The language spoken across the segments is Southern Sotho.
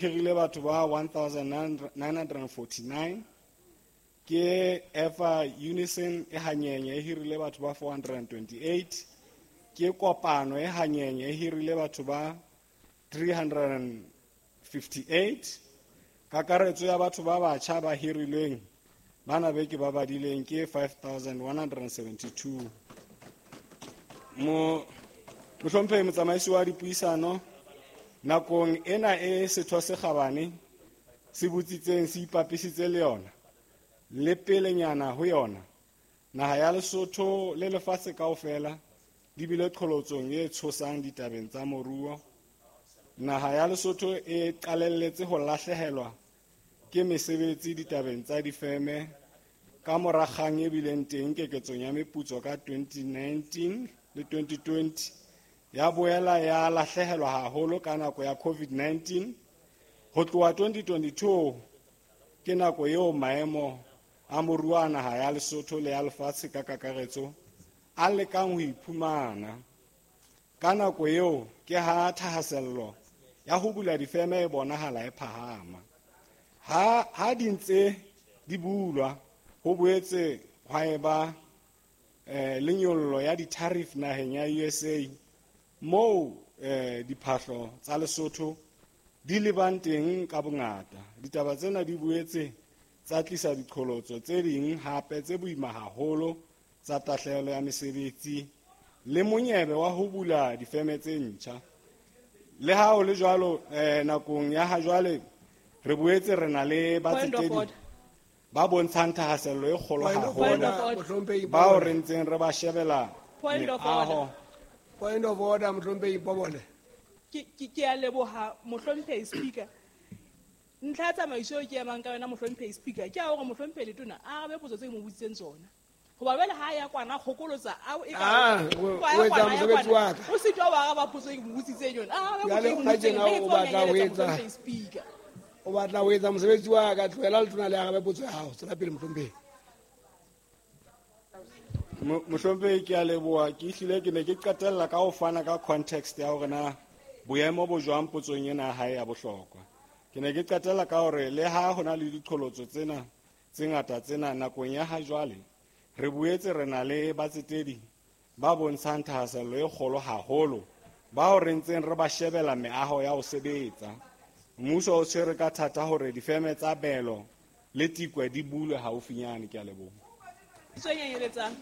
Hirile batho ba 1949. Ke Efa Unison e hanyenye e hirile batho ba 428. Ke Kopano e hanyenye e hirile batho ba 358. Kakaretso ya batho ba batjha ba hirilweng bana be ke ba badileng ke 5172. Mo mohlomphehi motsamaisi wa dipuisano, nakong ena e setho se kgabane se botsitseng se ipapisitse le yona le pelenyana ho yona, naha ya Lesotho le lefatshe kaofela di bile qholotsong e tshosang ditabeng tsa moruo. Naha ya Lesotho e qalelletse ho lahlehelwa ke mesebetsi ditabeng tsa difeme ka mora kgang e bileng teng keketsong ya meputso ka 2019 le 2020, ya boela ya lahlehelwa haholo ka nako ya COVID-19. Ho tloha 2022 ke nako eo maemo a moruo a naha ya Lesotho le ya lefatshe ka kakaretso a lekang ho iphumana. Ka nako eo ke ha thahasello ya ho bula difeme e bonahala e phahama. Ha di ntse di bulwa, ho boetse hwa eba le nyollo ya di-tariff naheng ya USA, moo diphahlo tsa Lesotho di lebang teng ka bongata. Ditaba tsena di boetse tsa tlisa diqholotso tse ding hape tse boima haholo tsa tahlehelo ya mesebetsi le monyebe wa ho bula difeme tse ntjha. Le ha ho le jwalo, nakong ya ha jwale re boetse re na le batsetedi ba bontshang thahasello e kgolo haholo, bao re ntseng re ba shebela meaho. Point of order, mohlomphehi Pobole. Ke a leboha, mohlomphehi Speaker. Ntlha ya tsamaiso eo ke emang ka yona, mohlomphehi Speaker, ke ya hore mohlomphehi Letona a arabe potso tse ke mo botsitseng tsona. Hoba jwale ha ya kwana kgokolotsa, ao e ka o etsa mosebetsi wa ka. O sitwa ho araba potso e ke mo botsitseng yona. A arabe potso e ke mo Jwale botsitseng, kajeno mme ke o tseba ho batla ho nyanyeletsa etsa mohlomphehi Speaker. O batla ho etsa mosebetsi wa ka, tlohela Letona le arabe potso ya hao. Tswela pele, mohlomphehi. Mohlomphehi, ke a leboha. Ke hlile ke ne ke qetella ka ho fana ka context ya hore na boemo bo jwang potsong ena ya hae ya bohlokwa. Ke ne ke qetella ka hore le ha ho na le diqholotso tsena tse ngata tsena nakong ya ha jwale, re boetse re na le batsetedi ba bontshang thahasello e kgolo haholo, bao re ntseng re ba shebela meaho ya ho sebetsa. Mmuso o tshwere ka thata hore difeme tsa Belo le Tikwe di bulwe haufinyane. Ke a leboha. Potso e nyenyeletsang.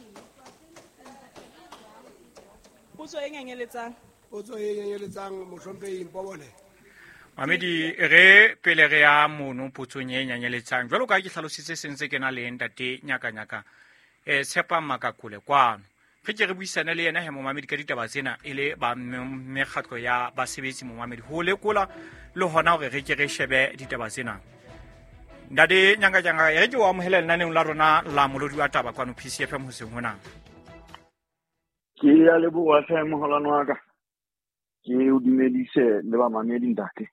Potso e nyenyeletsang. Potso e nyenyeletsang, mohlomphehi Mpobole. Mamedi, re pele re ya mono potsong e nyenyeletsang. Jwalo ka ha ke hlalositse sentse ke na le ntate Nyakanyaka, Tshepang Makakole kwano. Re ke re buisane le yena he momamedi ka ditaba tsena e le ba mekgatlo ya basebetsi momamedi, ho lekola le hona hore re ke re shebe ditaba tsena. Ntate Nyakanyaka, e re ke o amohele lenaneong la rona la Molodi wa Taba kwano PCFM hoseng hona. Ke a leboha hle moholwane wa ka. Ke o dumedise le bamamedi ntate.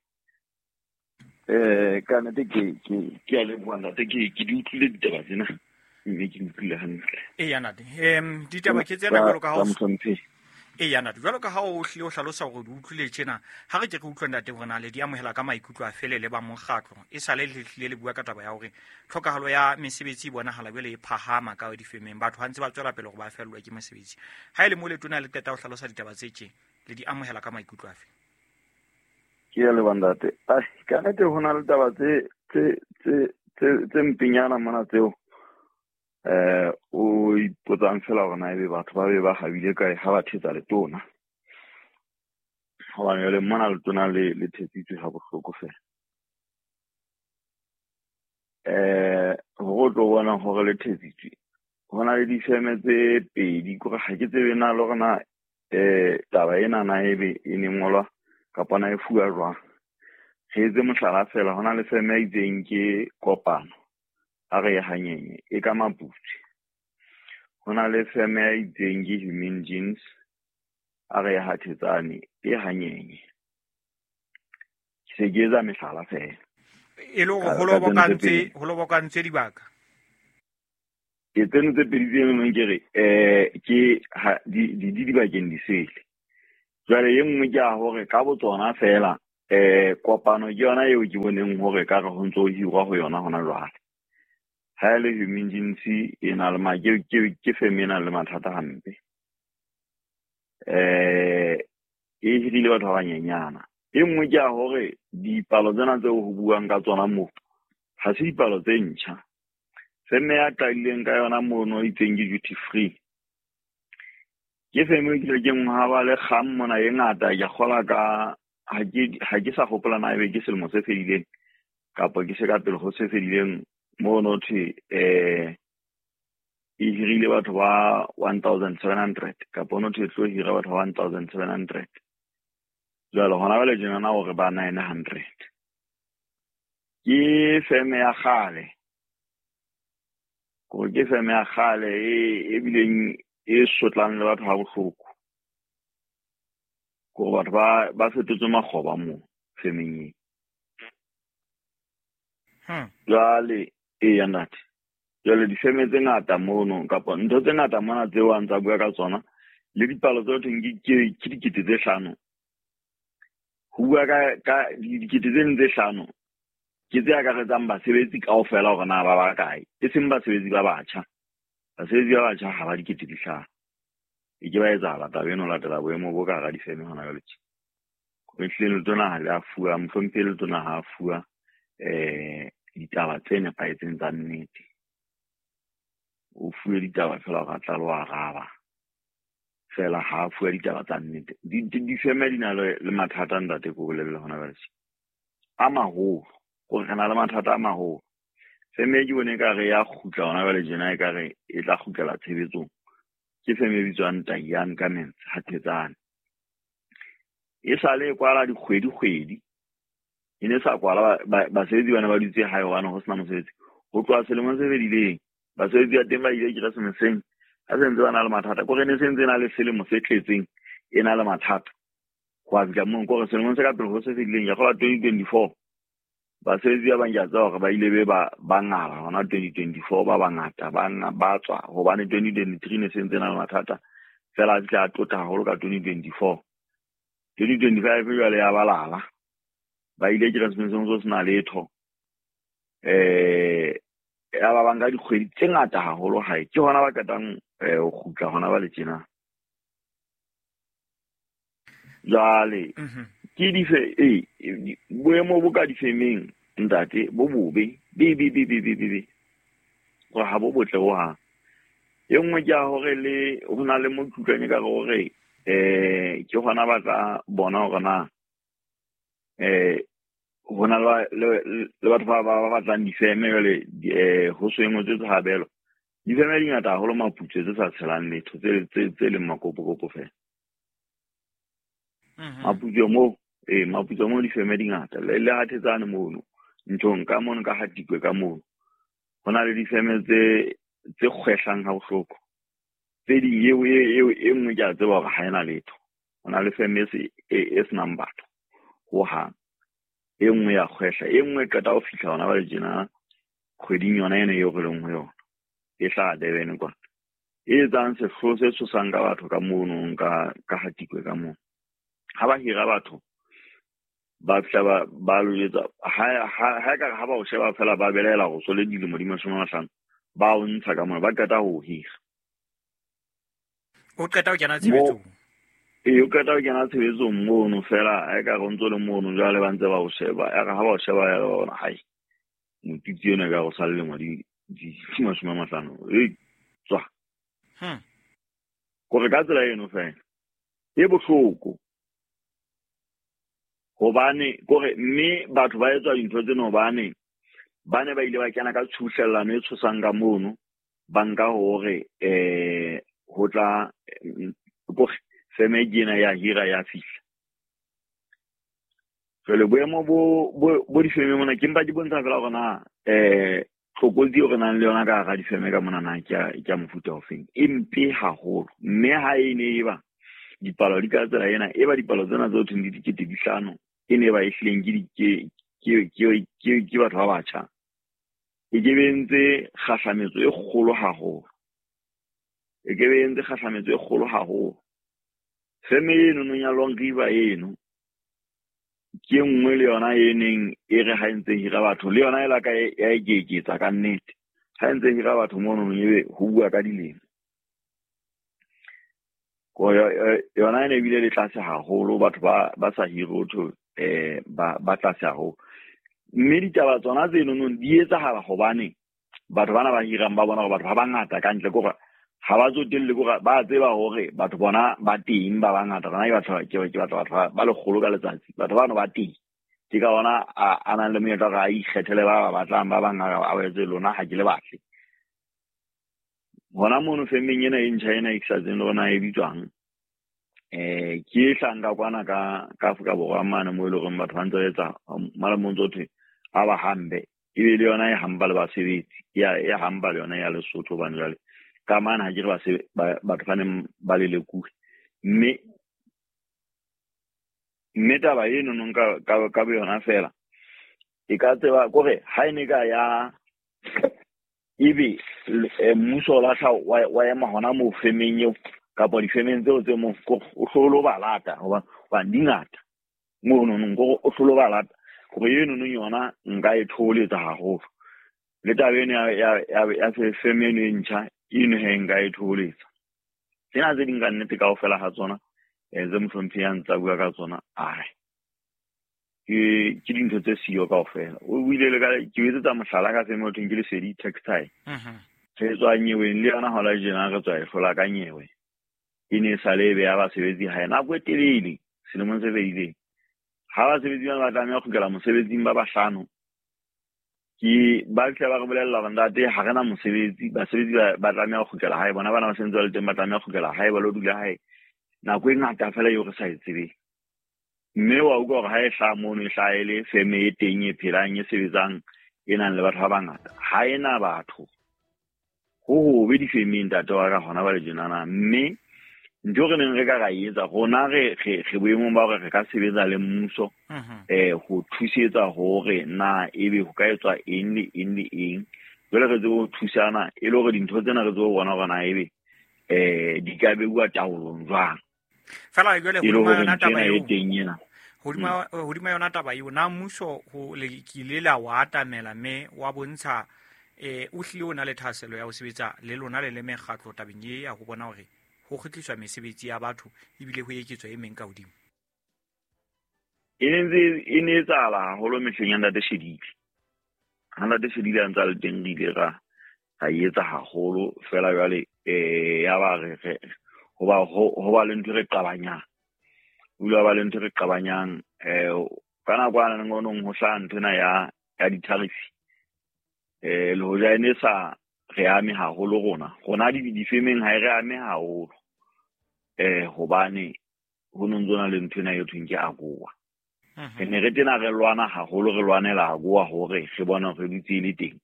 Ka nnete ke a leboha ntate, ke di utlwile ditaba tsena, mme ke di utlwile hantle. Eya ntate, ditaba ke tsena jwalo ka ha o Tsa mohlomphehi. Eya ntate, jwalo ka ha o hlile o hlalosa hore di utlwile tjena, ha re ke re utlwe ntate hore na le di amohela ka maikutlo a fele le ba mokgatlo. E sale le hlile le bua ka taba ya hore tlhokahalo ya mesebetsi e bonahala jwale e phahama ka difemeng, batho ha ntse ba tswela pele hore ba fellwe ke mesebetsi. Ha e le mo letona le qeta ho hlalosa ditaba tse tje, le di amohela ka maikutlo afe? Ke a leboha ntate. Ai, ka nnete ho na le taba tse mpenyana mona tseo. O ipotsang fela hore na ebe batho ba be ba habile kae ha ba thetsa letona. Hobane jwale mona letona le thetsitswe ha bohloko fela. Hore o tlo bona hore le thetsitswe, ho na le difeme tse pedi, kore ha ke tsebe na le hore na, taba ena na ebe e ne ngolwa kapa na e fuwa jwang. Re etse mohlala fela, ho na le feme e itseng ke Kopano, a re e hanyenye, e ka Maputswe. Ho na le feme e itseng ke Human Jeans, a re e Hathetsane, e hanyenye. Ke se ke etsa mehlala fela. E le hore Ka ho tsena tse pedi. ho lobokantswe dibaka. Ke tseno tse pedi tse nngwe ke re, ke ha, di, di, di dibakeng di sele. Jwale e nngwe ke ya hore ka botsona fela Kopano ke yona eo ke boneng hore ka re ho ntso hirwa ho yona hona jwale. Ha e le emergency e na le ke feme e nang le mathata hampe. E hirile batho ba banyenyana. E nngwe ke ya hore dipalo tsena tseo ho buang ka tsona moo ha se dipalo tse ntjha. Feme ya qadileng ka yona mono e itseng ke duty free. Ke feme e kile ke nngwe ha ba le kgang mona e ngata ke kgola ka ha ke sa hopola na ebe ke selemo se fedileng kapa ke se ka pele ho se fedileng mono thwe e hirile batho ba 1700 kapa no thwe tlo hira batho ba 1700. Jwale hona jwale tjenana hore ba 900. Ke feme ya kgale. Kore ke feme ya kgale e bileng e sotlang le batho ha bohloko. Kore batho ba fetotswe makgoba moo femeng e. Jwale eya ntate. Jwale difeme tse ngata mono kapa ntho tse ngata mona tseo a ntsa bua ka tsona le dipalo tse thweng ke 5 000. Ho bua ka 5 000 ke tse akaretsang basebetsi kaofela hore na ba bakae, e seng basebetsi ba batjha. Basebetsi ba batjha ha ba 5 000. E ke ba etsahala taba eno latela boemo bo ka hara difeme hona jwale tje. Ehlile letona ha le a fuwa, mohlomphehi letona ha a fuwa ditaba tse nepahetseng tsa nnete. O fuwe ditaba fela hore a tla lo araba. Fela ha a fuwa ditaba tsa nnete. Difeme di na le mathata ntate ko bolelle hona jwale tje. A maholo, kore re na le mathata a maholo. Feme e ke bone ekare ya kgutla hona jwale tjena ekare e tla kgutlela tshebetsong. Ke feme e bitswang Taiyang Garments ha Thetsane. E sale e kwala dikgwedi-kgwedi. E ne sa kwala basebetsi bana ba dutse hae hobane ho sena mosebetsi. Ho tloha selemong se fedileng, basebetsi ba teng ba ile Keresemeseng ha se ntse ba na le mathata. Kore ne se ntse na le selemo se tletseng e na le mathata. Ho a fihla moo kore selemong se ka pele ho se fedileng ya kgola 2024. Basebetsi ba bang ke a tseba hore ba ile be ba ngala hona 2024 ba bangata ba tswa hobane 2023 ne se ntse na le mathata. Fela a fihla a tota haholo ka 2024. 2025 jwale ya balala. Ba ile Keresemeseng ho sena letho. Ya ba bang ka dikgwedi tse ngata haholo hae. Ke hona ba qetang ho kgutla hona ba le tjena. Jwale ke dife boemo bo ka difemeng ntate bo bobe be be be be be be. Gore ha bo botle ho hang. E nngwe ke ya hore le ho na le mo kutlwang ka hore ke hona ba tla bona hore na ho na le batho ba batlang difeme jwale ho so engwe tse tshabelo. Difeme di ngata haholo Maputswe tse sa tshelang letho tse leng makopokopo fela. Maputswe moo Maputswe moo difeme di ngata le ha Thetsane mono nthong ka mono ka Hatikwe ka mono. Ho na le difeme tse kgwehlang ha bohloko. Tse ding eo e nngwe ke a tseba hore ha ena letho. Ho na le feme e senang batho ho hang. E nngwe ya kgwehla, e nngwe e qeta ho fihla hona ba le tjena kgweding yona ena eo re leng ho yona. E hlaha Durban kwana. E etsang sehloho se tshosang ka batho ka mono ka Hatikwe ka mono. Ha ba hira batho ba fihla ba lo etsa ha ekare ha ba o sheba fela ba belaela hore so le dilemo di 50 ba o ntsha ka mona ba qeta ho hira. O qeta ho kena tshebetsong. O qeta ho kena tshebetsong mono fela ha ekare o ntso le mono jwale ba ntse ba o sheba. Ekare ha ba o sheba ya bona hai motitsi ena ka go sa le lemo di 50 e tswa. Kore ka tsela eno fela e bohloko. Hobane kore mme batho ba etswa dintho tseno hobane ba ne ba ile ba kena ka tshuhlellano e tshosang ka mono ba nka hore ho tla kore feme ke ena ya hira ya fihla. Jwale boemo bo difeme mona ke mpa ke bontsha fela hore na tlokotsi eo re nang le yona ka hara difeme ka mona na ke ya mofuta ofeng. E mpe haholo mme ha e ne e ba dipalo di ka tsela ena e ba dipalo tsena tse thweng di 5 000 e ne ba e hlileng ke batho ba batjha. E ke be entse kgahlametso e kgolo haholo. E ke be entse kgahlametso e kgolo haholo. Feme eno nong ya Long River eno Ke nngwe le yona e neng e re ha ntse hira batho le yona e la ka ya eketsa ka nnete. Ha ntse hira batho mono ebe ho bua ka dilemo. Ko yona e ne bile le tlase haholo, batho ba sa hire ho ba tlase haholo. Mme ditaba tsona tseno di etsahala hobane batho bana ba hirang ba bona hore batho ba bangata ka ntle, kore ha ba tsotelle, kore ba tseba hore batho bona ba teng ba bangata. Rona ke batla batho ba lekgolo ka letsatsi, batho bano ba teng. Ke ka ona a nang le monyetla hore a ikgethele ba ba batlang, ba bang a etse lona ha ke le batle. Hona mono femeng ena e ntjha ena e ke sa tsebeng le hore na e bitswang, ke e hlahang ka kwana ka Afrika Borwa mane moo e leng hore batho ba ntse ba etsa mane mo ntso thwe a ba hambe, ebe le yona e hamba le basebetsi, e hamba le yona ya Lesotho. Hobane jwale ka mane ha ke re batho ba neng ba lelekuwe. Mme taba eno nong ka boyona fela e ka tseba kore ha e ne ka ya ebe mmuso o lahla wa ema hona moo femeng eo kapa difemeng tseo tse moo, o hlolo ba lata hobane di ngata mono nong, kore o hlolo ba lata. Kore eno nong yona nka e thoholetsa haholo. Le taba eno ya feme eno e ntjha eno he nka e thoholetsa. Tsena tse ding ka nnete kaofela ha tsona tse mohlomphehi a ntsa bua ka tsona, ai ke dintho tse siyo kaofela. O buile le ka ke etsetsa mohlala ka feme ho thweng ke Lesedi Textile. Re tswa nyeweng le yona hona tjena, re tswa e hlola ka nyewe. E ne e sale e beha basebetsi hae nako e telele selemong se fetileng. Ha basebetsi bana ba tlameha ho kgutlela mosebetsing ba bahlano, ke ba fihla ba re bolella hore ntate ha re na mosebetsi, basebetsi ba tlameha ho kgutlela hae, bona bana ba sentse ba le teng ba tlameha ho kgutlela hae, ba lo dula hae nako e ngata fela eo re sa e tsebeng. Mme wa utlwa hore ha e hlaha mono, e hlaha e le feme e teng e phelang e sebetsang e nang le batho ba bangata, ha e na batho. Ho hobe difemeng ntate wa ka hona ba le tjenana. Mme ntho re neng re ka ra etsa rona re boemong ba hore re ka sebetsa le mmuso ho thusetsa hore na ebe ho ka etswa eng le eng le eng. Jwale re tsebe ho thusana e le hore dintho tsena re tsebe ho bona hore na ebe di ka beuwa taolong jwang. Fela jwale E le hodima hore yona ntho taba ena e eo, teng ena. Hodima yona taba eo, na mmuso ho le kile la wa atamela mme wa bontsha o hlile o na le thahasello ya ho sebetsa le lona le le mekgatlo tabeng e ya ho bona hore ho kgutliswa mesebetsi ya batho ebile ho eketswa e meng ka hodimo? E ne ntse e ne etsahala haholo mehleng ya Ntate Shedile. Ha Ntate Shedile a ntse a le teng re ile ra etsa haholo fela jwale ya ba re ho ba le ntho e re qabanyang. Ho ile ba le ntho e re qabanyang ka nako ana ngonong ho hlaha ntho ena ya di-tariff. Le hoja e ne sa re ame haholo rona. Rona difemeng ha e re ame haholo. Hobane ho no ntso na le ntho ena e thweng ke AGOA. Re ne re tena re lwana haholo, re lwanela AGOA hore re bone hore re dutse e le teng.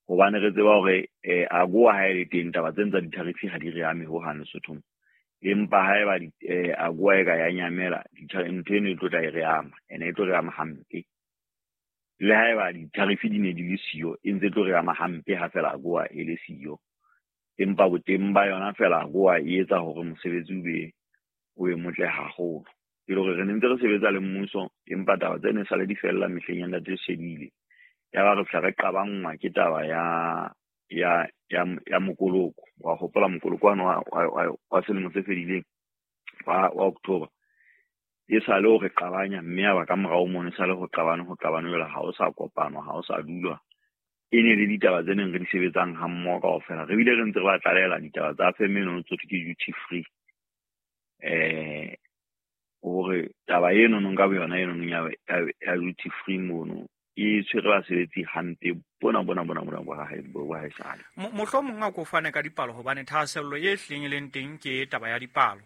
Hobane re tseba hore AGOA ha e le teng taba tsena tsa di-tariff ha di re ame hohang Lesothong. Empa haeba AGOA e ka ya nyamela, ntho eno e tlo tla e re ama, ene e tlo re ama hampe. Le haeba di-tariff di ne di le siyo, e ntse e tlo re ama hampe ha fela AGOA e le siyo. Empa boteng ba yona fela AGOA e etsa hore mosebetsi o be motle haholo. E le hore re ne ntse re sebetsa le mmuso, empa taba tseno e sale di fella mehleng ya Ntate Shedile. Ya ba re fihla re qabanngwa ke taba ya mokoloko. Wa hopola mokoloko wane wa selemo se fedileng wa October. E sale ho re qabanya, mme ya ba ka morao mono e sale ho qabane, ho qabane jwale ha o sa kopanwa, ha o sa dulwa. E ne le ditaba tse neng re di sebetsang ha mmoho kaofela. Re bile re ntse re ba tlalehela ditaba tsa feme eno tsohle ke duty free. Hore taba eno nong ka boyona eno nong ya duty free mono e tshwere basebetsi hampe bona bona bona bona bo hae bo hae sale. Mohlomong a ko fane ka dipalo hobane thahasello e hleng e leng teng ke taba ya dipalo.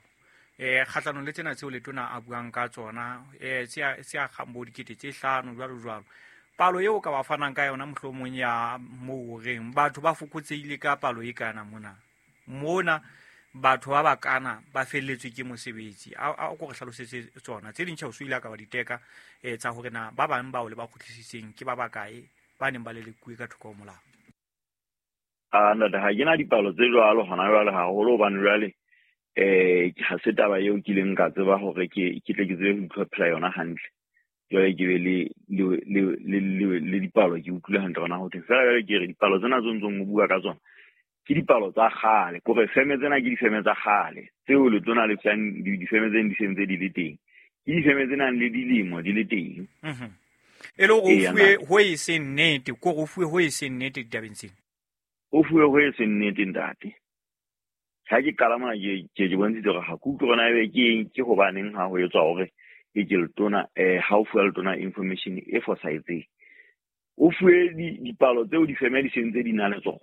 Kgahlanong le tsena tseo letona a buang ka tsona, se a kgang bo dikete tse 5 jwalo jwalo. Palo eo ka ba fanang ka yona mohlomong ya moo reng batho ba fokotsehile ka palo e kana mona. Mona batho ba bakana ba felletswe ke mosebetsi. A ko re hlalosetse tsona. Tse ding tjhe o so ile ka ba diteka tsa hore na ba bang bao le ba kgutlisitseng ke ba bakae ba neng ba lelekuwe ka thoko ho molao. Ntate, ha ke na dipalo tse jwalo hona jwale haholo hobane jwale ha se taba eo ke ileng ka tseba hore ke tle ke tsebe ho itlhophela yona hantle. Jwale ke be le dipalo ke utlwile hantle hore na ho thweng. Feela jwale ke re dipalo tsena tse ntsong o bua ka tsona ke dipalo tsa kgale. Kore feme tsena ke difeme tsa kgale tseo letona le fang difeme tseno di sentse di le teng. Ke difeme tse nang le dilemo di le teng. E le hore o fuwe ho e seng nnete, ke hore o fuwe ho e seng nnete ditabeng tsena. O fuwe ho e seng nnete, ntate. Ha ke qala mona ke bontshitse hore ha ke utlwe hore na ebe ke eng, ke hobaneng ha ho etswa hore e ke letona, ha o fuwa letona information e fosahetseng. O fuwe dipalo tseo difeme di sentse di na le tsona.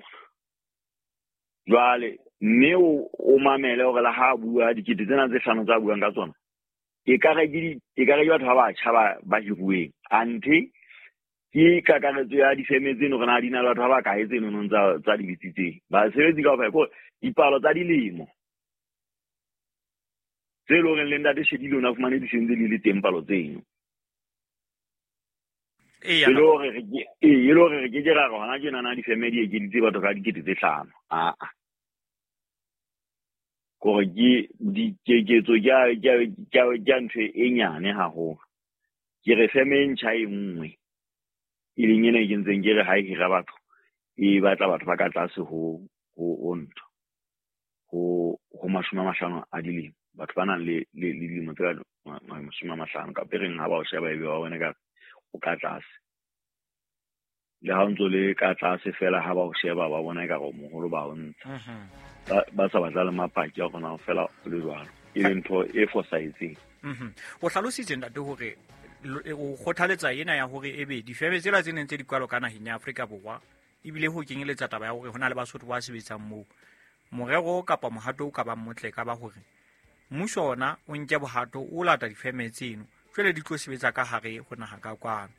Jwale mme o mamele hore le ha bua dikete tsena tse hlano tsa buang ka tsona, ekare ke batho ba batjha ba hiruweng. Anthe ke kakaretso ya difeme tseno hore na di na le batho ba bakae tseno tsa di bitsitseng. Basebetsi kaofela ke hore dipalo tsa dilemo tse leng hore le ntate Shedile o na fumane di sentse di le teng palo tseno. E le hore re ke ke ra re hona tjena na difeme di ekeditse batho ka dikete tse hlano. Aa. Kore ke dikeketso ke ntho e nyane haholo. Ke re feme e ntjha e nngwe e leng ena e ke ntseng ke re ha e hira batho e batla batho ba ka tlase ho ntho ho 50 a dilemo. Batho ba nang le dilemo tse ka 50 kapa e reng ha ba o sheba ebe wa bona ka o ka tlase. Le ha o ntso le ka tlase fela ha ba o sheba ba bona ekare o moholo ba o ntsha. Ba sa batla le mapaki a rona fela le jwalo. E le ntho e fosahetseng. O hlalositse ntate hore o kgothaletsa ena ya hore ebe difeme tsela tse neng tse di kwalo ka naheng ya Afrika Borwa ebile ho kenyeletsa taba ya hore ho na le Basotho ba sebetsang moo. Morero kapa mohato o ka bang motle ka ba hore mmuso ona o nke bohato o lata difeme tseno jwale di tlo sebetsa ka hare ho naha ka kwano.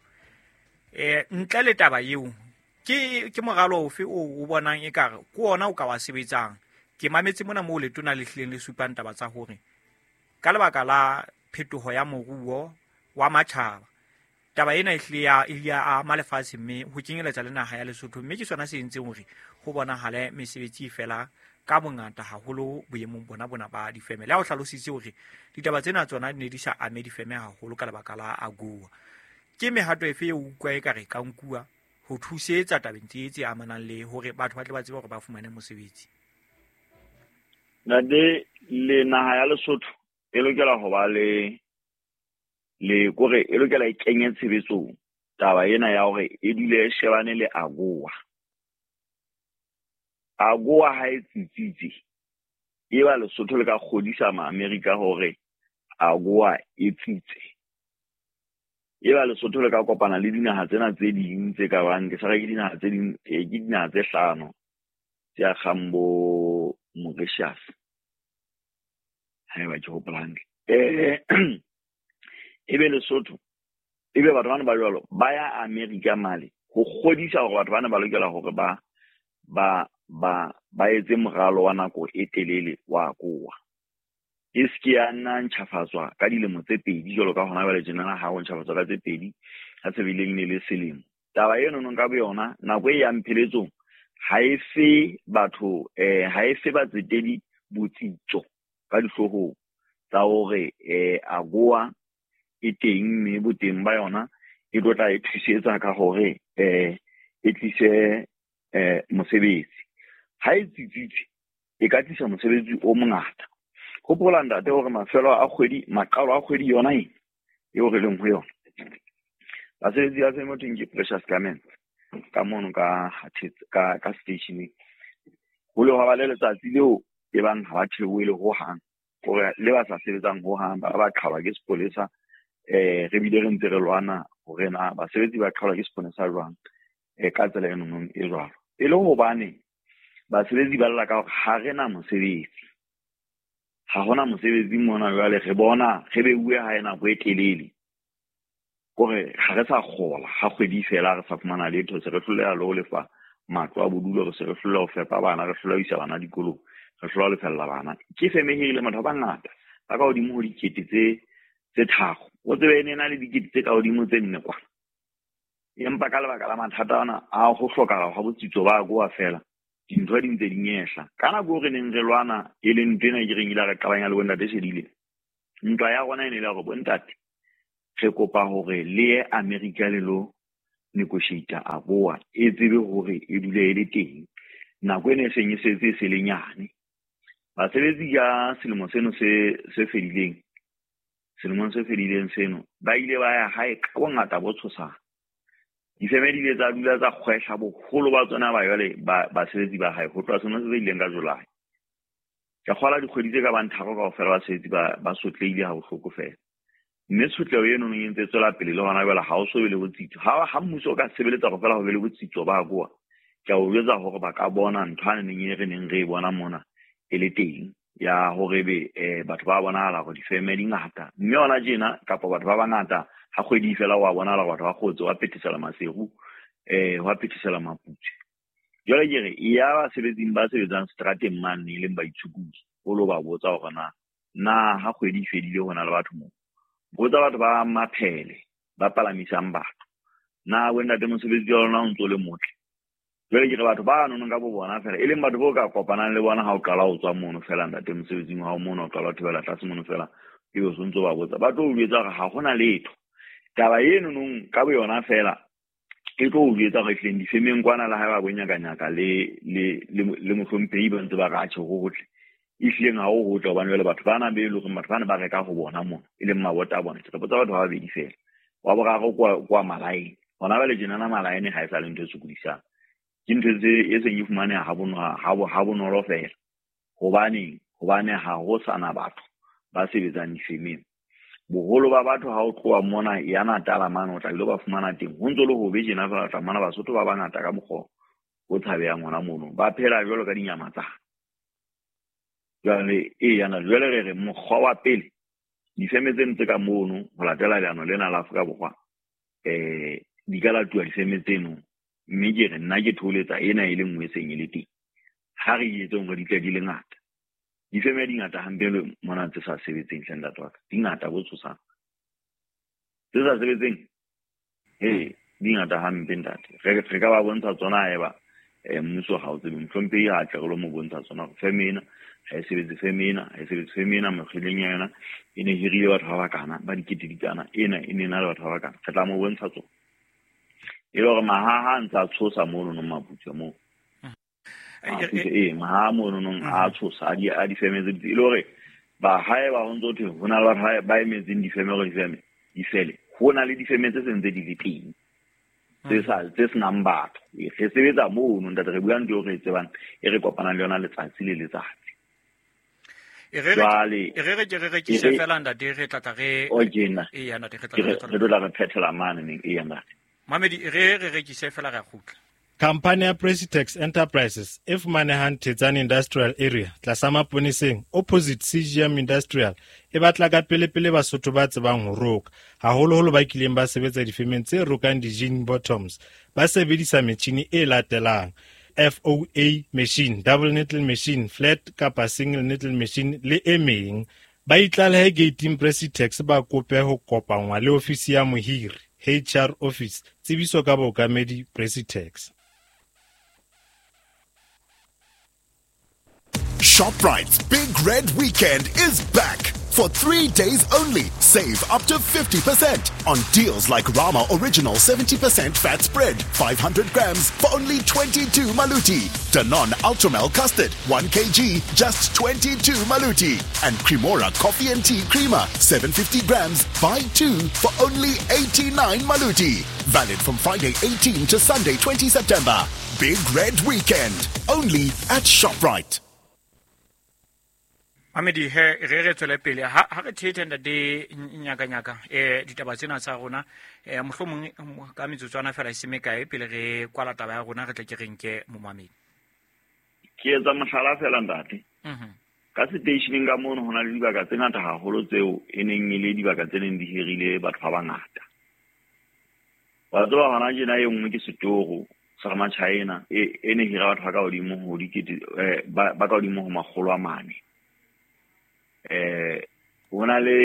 Ntle le taba eo ke moralo ofe o bonang ekare ke ona o ka wa sebetsang? Ke mametse mona moo letona le hlileng le supang taba tsa hore ka lebaka la phetoho ya moruo wa matjhaba taba ena e hlile ya ama lefatshe mme ho kenyeletsa le naha ya Lesotho, mme ke sona se entseng hore ho bonahale mesebetsi fela ka bongata haholo boemong bona ba difeme. Le ha o hlalositse hore ditaba tsena tsona di ne di sa ame difeme haholo ka lebaka la AGOA. Ke mehato efe eo utlwa ekare ka nkuwa ho thusetsa tabeng tse amanang le hore batho ba tle ba tsebe hore ba fumane mosebetsi? Ntate, le naha ya Lesotho e lokela ho ba le kore e lokela e kenye tshebetsong taba ena ya hore e dule e shebane le AGOA. AGOA ha e tsitsitse, e ba Lesotho le ka kgodisa ma-Amerika hore AGOA e tsitse. E ba Lesotho le ka kopana le dinaha tsena tse ding tse ka bang, ke sa re ke dinaha tse ding, ke dinaha tse hlano tse akgang bo Mauritius, haeba ke hopola hantle. Ebe Lesotho, ebe batho bana ba jwalo ba ya Amerika male ho kgodisa hore batho bana ba lokela hore ba etse moralo wa nako e telele wa AGOA. E se ke ya nna ntjhafatswa ka dilemo tse pedi jwalo ka hona jwale tjena ha ho ntjhafatswa ka tse pedi ha se bileng ne le selemo. Taba eno nong ka boyona nako e yang pheletsong ha e fe batho ha e fe batsetedi botsitso ka dihloohong tsa hore AGOA e teng mme boteng ba yona e tlo tla e thusetsa ka hore e tlise mosebetsi. Ha e tsitsitse e ka tlisa mosebetsi o mongata. Hopola ntate hore mafelo a kgwedi, maqalo a kgwedi yona ena eo re leng ho yona, basebetsi ba feme thweng ke Precious Garments ka mono ka stationeng, ho le hwa ba le letsatsi leo e bang ha ba theohele hohang, hore le ba sa sebetsang hohang ba qhalwa ke sepolesa. Re bile re ntse re lwana hore na basebetsi ba qhalwa ke sepolesa jwang ka tsela e nonong e jwalo. E le hobane basebetsi ba lla ka hore ha re na mosebetsi, ha hona mosebetsi mona jwale re bona re beuwe hae nako e telele, kore ha re sa kgola ha kgwedi fela re sa fumana letho, se re hloleha le ho lefa matlo a bodulo, re se re hloleha ho fepa bana, re hloleha ho isa bana dikolong, re hloleha ho lefella bana. Ke feme e hirile batho ba bangata ba ka hodimo ho dikete tse tharo, o tsebe e ne na le dikete tse ka hodimo tse nne kwana. Empa ka lebaka la mathata ana a ho hlokahala hwa botsitso ba AGOA fela, dintho di ntse di nyehla. Ka nako eo re neng re lwana e leng ntho ena ke reng ile re qabanya le bontate Shedile, ntwa ya rona e ne le hore bontate Re kopa hore le ye America le lo negotiate AGOA e tsebe hore e dule e le teng. Nako ena e seng e setse e se le nyane. Basebetsi ka selemo seno se fedileng, selemong se fedileng seno, ba ile ba ya hae ka bongata bo tshosang. Difeme di ile tsa dula tsa kgwehla boholo ba tsona ba jwale basebetsi ba hae ho tloha selemo se fetileng ka July. Ka kgola dikgwedi tse ka bang tharo kaofela basebetsi ba sotlehile ha bohloko fela. Mme tshotleho eno e ntse e tswela pele le hona jwale ha o so be le botsitso. Ha mmuso o ka sebeletsa hore fela ho be le botsitso ba AGOA, ke a o jwetsa hore ba ka bona ntho ane neng e re neng re e bona mona e le teng ya hore ebe batho ba bonahala hore difeme di ngata. Mme hona tjena kapa batho ba bangata ha kgwedi e fela wa bonahala hore batho ba kgotse, wa phethesela Maseru, wa phethesela Maputswe. Jwale ke re ya basebetsing ba sebetsang strateng mane e leng baitshokodi, o lo ba botsa hore na ha kgwedi e fedile ho na le batho moo. Botsa batho ba maphele ba palamisang batho, na bo ntate mosebetsi wa lona o ntso le motle. Jwale ke re batho ba nonong ka bo bona fela, e leng batho bo ka kopanang le bona ha o qala ho tswa mono fela ntate mosebetsing wa hao mono, o qala ho thibela tlase mono fela, ebe o sontso ba botsa, ba tlo o jwetsa hore ha hona letho. Taba eno nong ka bo yona fela e tlo o jwetsa hore ehlileng difemeng kwana le haeba bo nyakanyaka le mohlomphehi ba ntse ba re atjhe ho hotle, ehlileng ha ho hotle hobane jwale batho bana be e leng hore batho bana ba reka ho bona mona, e leng mabota a bona. Ke re botsa batho ba babedi fela, wa boraro kwa malaene. Hona jwale tjenana malaene ha e sa le ntho e sokodisang, ke ntho e seng e fumaneha ha bonolo fela. Hobaneng? Hobane ha ho sana batho ba sebetsang difemeng. Boholo ba batho ha o tloha mona ya Natala mane o tla ile ba fumana teng. Ho ntso le hobe tjena fela, o tla fumana Basotho ba bangata ka mokgwa o tshabehang hona mono. Ba phela jwalo ka dinyamatsana. Jwale eya, jwale re re mokgwa wa pele, difeme tseno tse ka mono ho latela leano lena la Afrika Borwa, di ka latuwa difeme tseno. Mme ke re nna ke thoholetsa ena e le nngwe e seng e le teng. Ha re etseng hore di tle di le ngata. Difeme di ngata hampe le mona tse sa sebetseng hle ntate wa ka. Di ngata bo tshosang. Tse sa sebetseng, di ngata hampe ntate. Re ka ba bontsha tsona haeba mmuso ha o tsebe. Mohlomphehi ha tle re lo mo bontsha tsona hore feme ena ha e sebetse, feme ena ha e sebetse, feme ena mekgweleng ya yona e ne hirile batho ba bakana, ba dikete di kana, ena e ne na le batho ba bakana. Re tla mo bontsha tsona. E le hore mahaha a ntse a tshosa mono no Maputswe moo. Mahaha mono no a tshosa, a difeme tse di. E le hore ba haeba ho ntso thwe ho na le batho ba emetseng difeme hore difeme di fele. Ho na le difeme tse seng tse di le teng, tse senang batho. Re sebetsa mono ntate, re bua ntho eo re e tsebang, e re kopanang le yona letsatsi le letsatsi. Re re rekise fela ntate, re tla tla re eya ntate, re tla re phethela mane neng, eya ntate. Mamedi, re rekise fela re a kgutla. Khampani ya Presitex Enterprises e fumanehang Thetsane Industrial Area tlasa Maponeseng opposite CGM Industrial e batla ka pele-pele Basotho ba tsebang ho roka, haholoholo ba kileng ba sebetsa difemeng tse rokang di-jean bottoms. Ba sebedisa metjhini e latelang: FOA machine, double needle machine, flat kapa single needle machine le e meng. Ba itlalehe gating Presitex, ba kope ho kopanngwa le ofisi ya mohiri, HR office. Tsebiso ka bookamedi Presitex. ShopRite's Big Red Weekend is back. For 3 days only, save up to 50% on deals like Rama Original 70% fat spread, 500 grams for only 22 maluti. Danone Ultramel Custard, 1 kg, just 22 maluti. And Cremora Coffee and Tea Creamer, 750 grams, buy 2 for only 89 maluti. Valid from Friday 18 to Sunday 20 September. Big Red Weekend, only at ShopRite. Mamedi, he re tswele pele ha re thethe ntate Nyakanyaka ditaba tsena tsa rona, mohlomong ka metsotswana fela e se mekae pele re kwala taba ya rona, re tle ke re nke momamedi. Ke etsa mohlala fela ntate. Ka seteisheneng ka mono ho na le dibaka tse ngata haholo tseo e neng e le dibaka tse neng di hirile batho ba bangata. Wa tseba hona tjena e nngwe ke setoro sa Machina e ne hira batho ba ka hodimo ho dikete, ba ka hodimo ho 400. Ho na le